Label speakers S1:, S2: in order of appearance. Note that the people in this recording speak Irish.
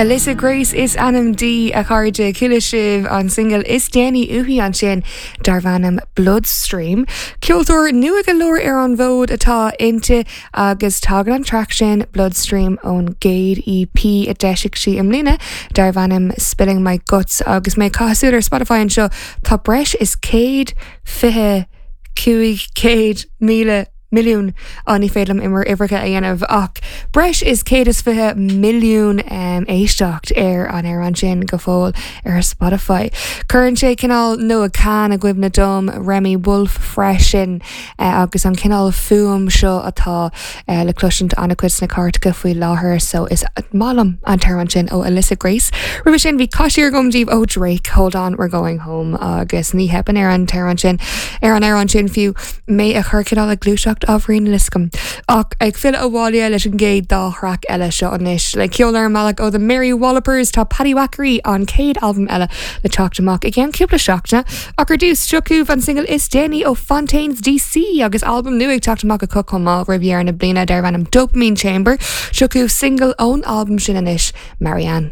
S1: Alyssa Grace is ainm di, a chairde. Chuala sibh an singil is déanaí uaithi ansin darb ainm Bloodstream. Ceoltóir nua go leor ar an bhfód atá inti agus tagann an traic sin, Bloodstream, ón gcéad EP a d'eisigh sí i mbliana darb ainm Spilling My Guts. Agus mé ag caitheamh súil ar Spotify anseo, tá breis is 120 500,000 milliún, á ní féidir liom imir uimhreacha a dhéanamh ach breis is 120 milliún éisteacht ar an amhrán sin go fóill ar Spotify. Cuireann sé cineál Noah Kahan i gcuimhne dom, Remi Wolf freisin agus an cineál fuaim seo atá le cloisint an-chuid sna cairteacha faoi láthair so is maith liom an t-amhrán sin ó Alyssa Grace. Roimhe sin bhí caisír agam daoibh ó Drake, Hold On We're Going Home agus ní theipeann ar an t-amhrán sin ar an amhrán sin fiú mé a chur cineál ag gluaiseacht ábhairín níl a fhios agam. Ach ag filleadh abhaile leis an gcéad dá thraic eile seo anois. Le ceol ar an mbealach ó The Mary Wallopers tá Paddywhackery an chéad albam eile le teacht amach i gceann cúpla seachtaine. Ach ar dtús, seo chugaibh an singil is déanaí ó Fontaines DC agus albam nua ag teacht amach acu chomh maith roimh dheireadh na bliana darb ainm Dopamine Chamber. Seo chugaibh singil ón albam sin anois, Marianne.